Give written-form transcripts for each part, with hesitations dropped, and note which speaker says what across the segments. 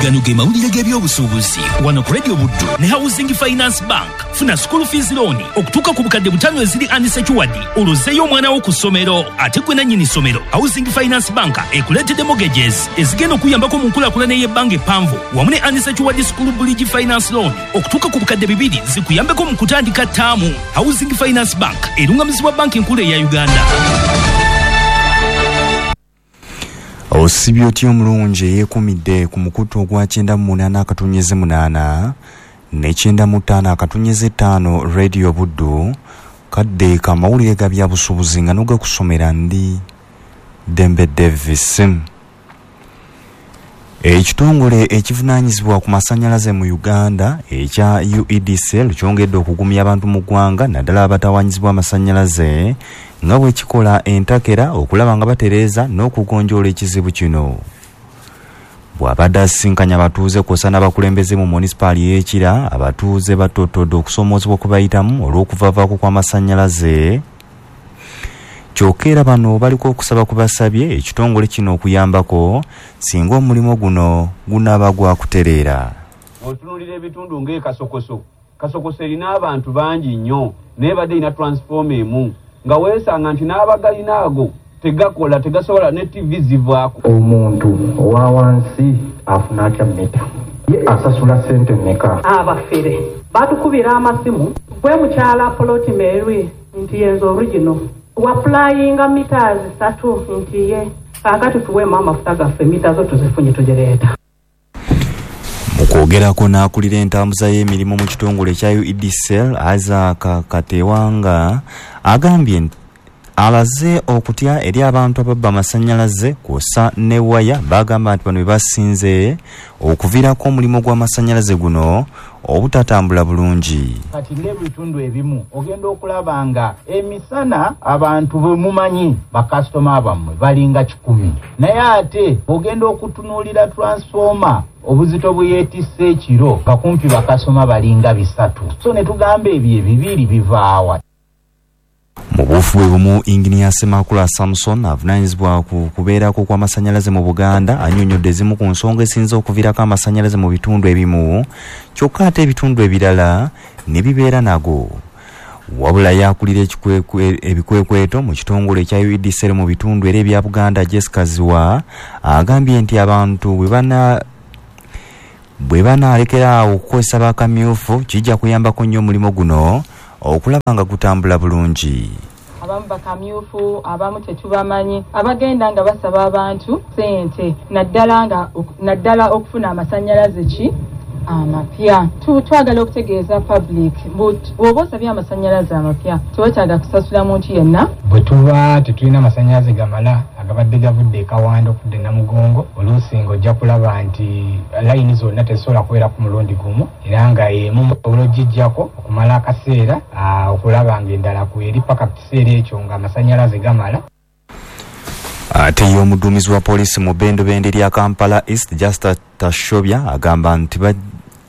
Speaker 1: Gano ge mawulire g'ebyobusuubuzi wano ku Radio Buddu ne Housing Finance Bank. Funa school fees loan okutuuka ku 5,000 eziri unsecured, olwo ozzeeyo omwana wo ku ssomero. Ate gwe nannyini ssomero, Housing Finance Bank ekuleetedde mortgages ezigenda okuyambako mu nkulaakulana ey'ebbanga eppanvu wamu ne unsecured school bridge finance loan okutuuka ku 2,000 zikuyambeko mu kutandika ttaamu. Housing Finance Bank erungamizibwa Banki Enkulu eya Uganda.
Speaker 2: Osibye otya omulungi eyeekumidde ku mukutu ogwa 98.8 ne 95.5 Radio Buddu kadde ka mawulire ga byabusuubuzi nga n'ogakusomera ndi Dembe Davis. Ekitongole ekivunaanyizibwa ku masannyalaze mu Uganda ekya UEDCL kyongedde okugumya abantu mu ggwanga naddala abatawaanyizibwa amasannyalaze nga bwe kikola entakera okulaba nga batereeza n'okugonjoola ekizibu kino. Bw'abadde asisinkanye abatuuze kw'ossa n'abakulembeze mu munisipaali y'e Kira, abatuuze battottodde okusoomoozebwa kwe bayitamu olw'okuvaavaako kw'amasannyalaze. Kyokka era bano baliko okusaba kwe basabye ekitongole kino okuyambako singa omulimu guno gunaaba gwakutereera.
Speaker 3: Bw'otunuulira ebitundu ng'e Kasokoso, Kasokoso erina abantu bangi nnyo naye ebadde erina transformer emu nga weesanga nti n'abagalina ago tegakola, tegasobola ne ttivi zivaako.
Speaker 4: Omuntu owa wansi afuna atya mita? Ye asasula ssente mmeka?
Speaker 5: Abafere batukubira amasimu, gwe mukyala Poloti Mary nti yenze original wapulayinga mita 3 nti ye kaakati tuweemu amafuta gaffe mita zo tuzifunye tugireeta.
Speaker 2: Mu kwogerako n'akulira entambuza y'emirimu mu kitongole ekya UEDCL Isaac Katewanga agambye nti alaze okutya eri abantu ababba amasannyalaze kw'ossa ne waya bagamba nti bano be basinze okuviirako omulimu gw'amasannyalaze guno obutatambula bulungi.
Speaker 6: Kati ng'ebitundu ebimu ogenda okulaba nga emisana abantu be mumanyi bakasitoma bammwe balinga 100, naye ate ogenda okutunuulira transformer obuzito bwe yeetisse ekiro nga kumpi bakasitoma balinga 3, so ne tugamba ebyo ebibiri bivaawa.
Speaker 2: Mu buufu bwe bumu, Inginiya Ssemakula Samson avunaanyizibwa ku kubeerako kw'amasannyalaze mu Buganda annyonnyodde ezimu ku nsonga esinze okuviirako amasannyalaze mu bitundu ebimu kyokka ate ebitundu ebirala ne bibeera nago. Wabula yakulira ebikwekweto mu kitongole ekya UEDCL mu bitundu era ebya Buganda Jessica Ziwa agambye nti abantu bwe banaalekera awo okukozesa bakamyufu kijja kuyambako nnyo omulimu guno okulaba nga gutambula bulungi.
Speaker 7: Abamu bakamyufu, abamu tetubamanyi, abagenda nga basaba abantu ssente naddala okufuna amasannyalaze ki amapya. Twagala okutegeeza public bw'oba osabye amasannyalaze amapya tewetaaga kusasula muntu yenna.
Speaker 8: Bwe tuba tetulina amasannyalaze gamala agabadde gavudde e Kawanda okudda e Namugongo, oluusi ng'ojja kulaba nti layini zonna tezisobola kubeera ku mulundi gumu, era nga emu osobola ogiggyako okumala akaseera okulaba ng'endala kweri paka ku kiseera ekyo ng'amasannyalaze gamala.
Speaker 2: Ate ye omuduumizi wa poliisi mu bendobendo erya Kampala East Justa Tashobya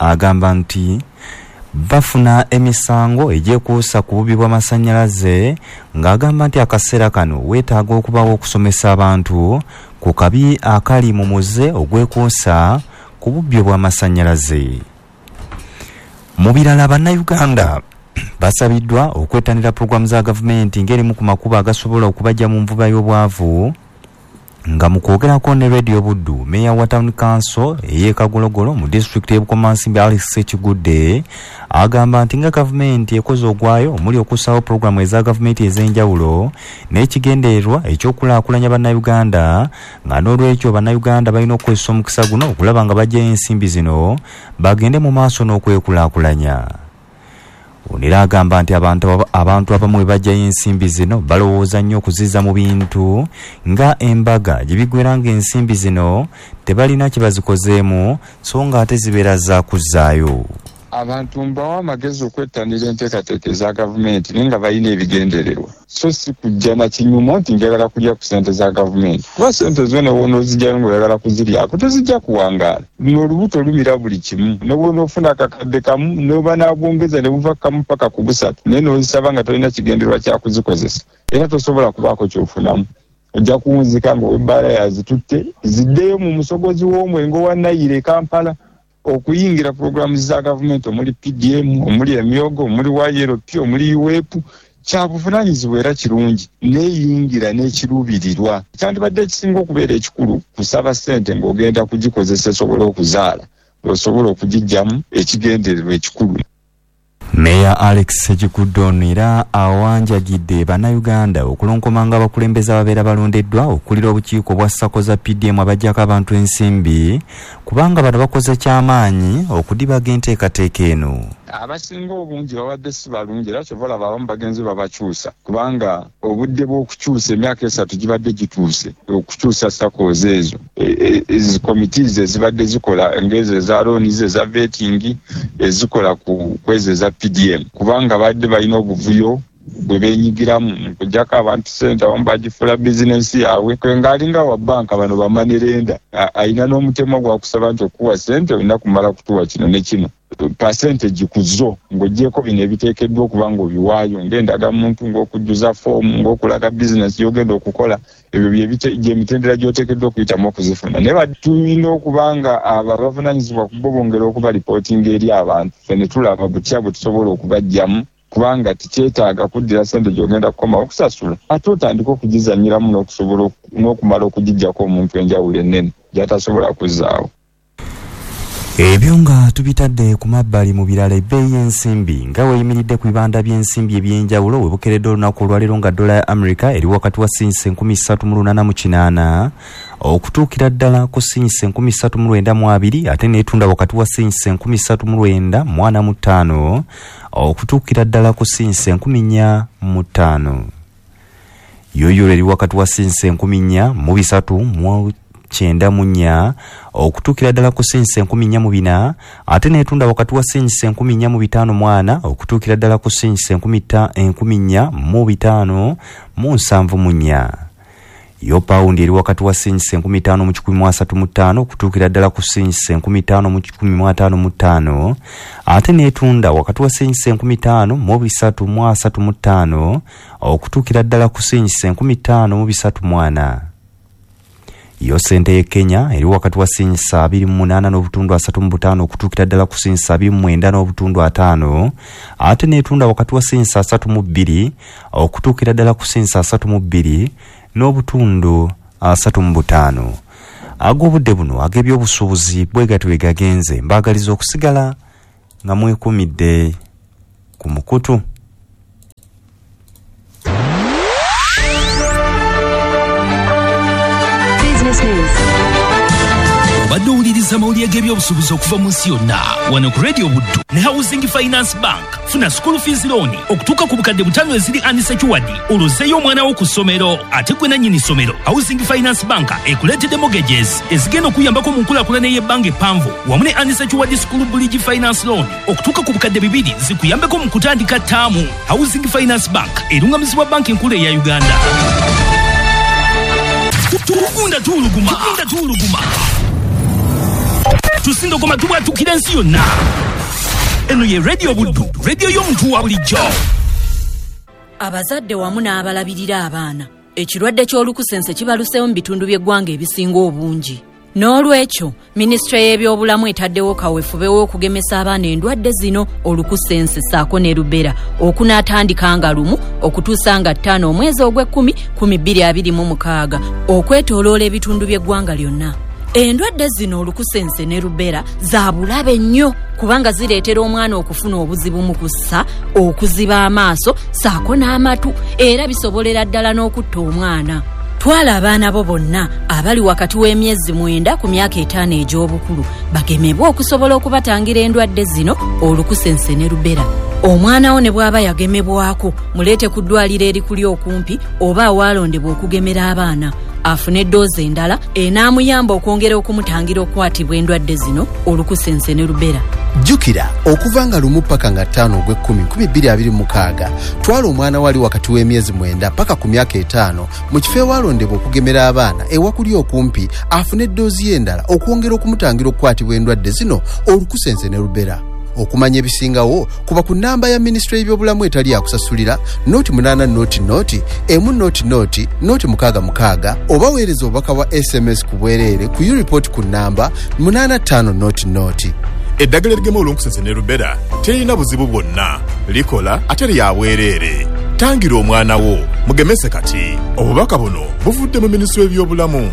Speaker 2: agamba nti bafuna emisango egyekuusa ku bubi bw'amasannyalaze ng'agamba nti akaseera kano weetaaga okubawo okusomesa abantu ku kabi akali mu muze ogwekuusa ku bubbi bw'amasannyalaze. Mu birala, bannayuganda basabiddwa okwettanira pulogulaamu za gavumenti ng'erimu ku makubo agasobola okubaggya mu nvuba y'obwavu. Nga mu kwogerako ne Radio Buddu, Meeya wa Town Council ey'e Kagologolo mu disitulikiti y'e Bukomansimbi Alex Kigudde agamba nti nga gavumenti ekoze ogwayo omuli okussaawo pulogulaamu eza gavumenti ez'enjawulo n'ekigendererwa eky'okulaakulanya bannayuganda, nga n'olwekyo bannayuganda balina okukozesa omukisa guno okulaba nga baggyayo ensimbi zino bagende mu maaso n'okwekulaakulanya. Ono era agamba nti abantu abamu bwe baggyayo ensimbi zino balowooza nnyo okuzizza mu bintu nga embaga gye biggweera ng'ensimbi zino tebalina kye bazikozeemu so ng'ate zibeera za kuzzaayo.
Speaker 9: Abantu mbawa amagezi okwettanira enteekateeka eza gavumenti naye nga balina ebigendererwa, so si kujja na kinyumo nti njagala kulya ku ssente za gavumenti, kuba ssente zo ne bw'onoozigyayo ng'oyagala kuziryako tezijja kuwangaala. Luno olubuto lumira buli kimu, ne bw'onoofuna akakadde kamu n'oba n'abwongeza ne buva kamu paka ku busatu, naye n'ozisaba nga tolina kigendererwa kya kuzikozesa, era tosobola kubaako ky'ofunamu. Ojja kuwunzika ng'ow'ebbaala yazitutte ziddeyo mu musogozi w'omwenge owa Nayiro e Kampala okuyingira pulogulaamu za gavumenti omuli PDM, omuli emyogo, omuli YLP, omuli UWEP. Kyabuvunaanyizibwa era kirungi neeyingira n'ekiruubirirwa. Kyandibadde ekisinga okubeera ekikulu kusaba ssente ng'ogenda kugikozesa esobola okuzaala, osobola okugiggyamu ekigendererwa ekikulu.
Speaker 2: Meya Alex Ssekikubo ono era awanjagidde bannayuganda okulonkomanga abakulembeze ababeera balondeddwa okukulira obukiiko bwa SACCO za PDM abaggyako abantu ensimbi, kubanga bano bakoze kyamaanyi okudibaga enteekateeka eno.
Speaker 9: Abasinga obungi babadde si balungi, era kyova olaba abamu bagenze babakyusa, kubanga obudde bw'okukyusa emyaka 3 gibadde gituuse okukyusa SACCOs ezo. Committees ezibadde zikola ng'ezo eza loans, eza vetting, ezikola ku ezo eza PDM, kubanga badde balina obuvuyo bwe beenyigiramu mu kuggyako abantu ssente, abamu bagifuula bizinensi yaabwe. Ng'alinga wa bbanka bano bamanerenda, alina n'omutemwa gwa kusaba nti okuwa ssente olina kumala kutuwa kino ne kino, percentage ku zo ng'oggyeko bino ebiteekeddwa okuba ng'obiwaayo ng'endagamuntu, ng'okujjuza foomu, ng'okulaga bizinensi gy'ogenda okukola. Ebyo gyemitendera gy'oteekeddwa okuyitamu okuzifuna. Naye tulina okuba nga abo abavunaanyizibwa ku bo bongera okubalipootinga eri abantu, ffe ne tulaba butya bwe tusobola okubaggyamu, kubanga tekyetaaga kuddira ssente gy'ogenda kukomawo okusasula, ate otandika okugizannyiramu n'okusobola n'okumala okugiggyako omuntu enjawulo ennene gy'atasobola kuzzaawo.
Speaker 2: Ebyo nga tubitadde ku mabbali, mu birala, ebbeeyi y'ensimbi nga weeyimiridde ku bibanda by'ensimbi ebyenjawulo we bukeredde olunaku olwaleero, nga dola ya America eri wakati wa sinyisa 3880 okutuukira ddala ku sinyisa 3920, ate neetunda wakati wa sinyisa 3945 okutuukira ddala ku sinyisa 4005. Yo euro eri wakati wa sinyisa 4394 okutuukira ddala ku sinyisa 4400, ate neetunda wakati wa sinyisa 4554 okutuukira ddala ku sinyisa 4574. Yo pawundi eri wakati wa sinyisa 5135 okutuukira ddala ku sinyisa 5155, ate neetunda wakati wa sinyisa 5335 okutuukira ddala ku sinyisa 5304. Yo sente ye Kenya eri wakati wa sinyisa 28.35 okutuukira ddala ku sinyisa 29.5, ate neetunda wakati wa sinyisa 32 okutuukira ddala ku sinyisa 32.35. Ag'obudde buno ag'ebyobusuubuzi bwe gatyo bwe gagenze. Mbaagaliza okusigala nga mwekumidde ku mukutu.
Speaker 10: Business News.
Speaker 1: Obadde owuliriza amawulire g'ebyobusuubuzi okuva mu nsi yonna wano ku Radio Buddu ne Housing Finance Bank. Funa school fees loan okutuuka ku 50,000 eziri unsecured, olwozeeyo omwana wo ku ssomero. Ate gwe nannyini ssomero, Housing Finance Bank ekuleetedde mortgages ezigenda okuyambako mu nkulaakulana ey'ebbanga eppanvu, wamu ne unsecured school bridge finance loan okutuuka ku 2,000 zikuyambeko mu kutandika ttaamu. Housing Finance Bank erungamizibwa Banki Enkulu eya Uganda. Tugunda tuwuluguma, tugunda tuwuluguma, tusindogoma, tubwatukira ensi yonna. Eno ye Radio Buddu, radio y'omuntu wa bulijjo.
Speaker 11: Abazadde wamu n'abalabirira abaana, ekirwadde ky'olukusense kibaluseewo mu bitundu by'eggwanga ebisinga obungi. N'olwekyo minisitule y'ebyobulamu etaddewo kaweefube w'okugemesa abaana endwadde zino olukusense ssaako ne rubella, okunaatandika nga 1 okutuusa nga 5 omwezi ogw'ekumi 2026 okwetooloola ebitundu by'eggwanga lyonna. Endwadde zino olukusense ne rubella za bulabe nnyo, kubanga zireetera omwana okufuna obuzibu mu kussa, okuziba amaaso ssaako n'amatu, era bisobolera ddala n'okutta omwana. Twala abaana bo bonna abali wakati w'emyezi 9 ku myaka 5 egy'obukulu bagemebwe okusobola okubatangira endwadde zino olukusense ne rubella. Omwana wo ne bw'aba yagemebwako, muleete ku ddwaliro erikuli okumpi oba awalondebwa okugemera abaana afune eddoozi endala enaamuyamba okwongera okumutangira okukwatibwa endwadde zino olukusense ne rubella.
Speaker 12: Jjukira, okuva nga 1 paka nga 5 ogw'ekumi 2026, twala omwana we ali wakati w'emyezi 9 paka ku myaka 5 mu kifo ewalondebwa okugemera abaana ewakuli okumpi afune eddoozi ye endala okwongera okumutangira okukwatibwa endwadde zino olukusense ne rubella. Okumanya ebisingawo, kuba ku nnamba ya minisitule y'ebyobulamu etali yakusasulira 08 00 1 00 066 oba weereza obubaka bwa SMS ku bwereere ku ureport ku nnamba 85 00.
Speaker 10: Eddagala erigema olunkusense ne rubella terina buzibu bwonna, likola ate lya bwereere. Tangira omwana wo, mugemese kati. Obubaka buno buvudde mu minisitule y'ebyobulamu.